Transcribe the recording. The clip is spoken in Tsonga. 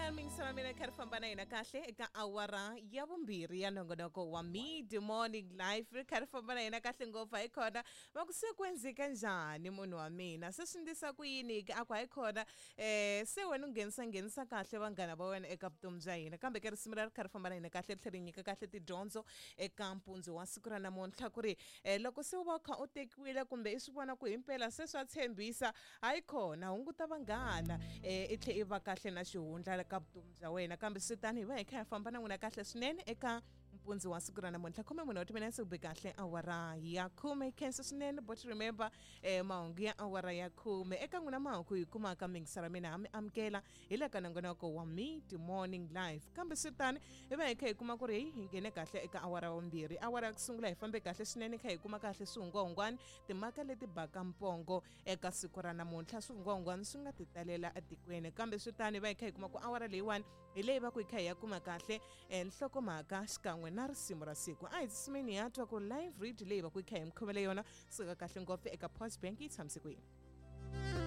Eka mingiselo mina kha ri famba na hina kahle eka awara ya vumbirhi ya nongonoko wa Mid Morning Life, ri kha ri famba na hina kahle ngopfu. Hayi khona, va ku se ku endleka njhani munhu wa mina, se swi ndlisa ku yini ke? A ku hayi khona, se wena u nghenisa nghenisa kahle vanghana va wena eka vutomi bya hina. Kambe ke risimu ra ri kha ri famba na hina kahle, ri tlhela ri nyika kahle tidyondzo eka mpundzu wa siku ra namuntlha, ku ri loko se u va u kha u tekiwile kumbe i swi vona ku himpela se swa tshembisa, hayi khona, hunguta vanghana, i tlhe i va kahle na xihundla ka vutomi bya wena. Kambe swi tani hi va hi kha hi famba na n'wina kahle swinene eka mpundzu wa siku ra namuntlha. 14 wa timinetse ku be kahle awara ya 10. Khensa swinene, but remember, mahungu ya awara ya 10 eka n'wina mahungu hi kumaka mingisara mina ha mi amukela hi le ka nongonoko wa Mid Morning Life. Kambe swi tani hi va hi kha hi kuma ku ri hi nghene kahle eka awara ya vumbirhi. Awara ya ku sungula hi fambe kahle swinene, kha hi kuma kahle swihungwahungwani, timhaka leti baka mpongo eka siku ra namuntlha, swihungwahungwani swi nga ti talela etikweni. Kambe swi tani hi va hi kha hi kuma ku awara leyiwani hi leyi va ku hi kha hi ya kuma kahle nhlokomhaka xikan'we na risimu ra siku. A hi tsumeni ya twa ku live read leyi va ku hi kha hi mi khomele yona suka kahle ngopfu eka Post Bank yi tshamise ku yini.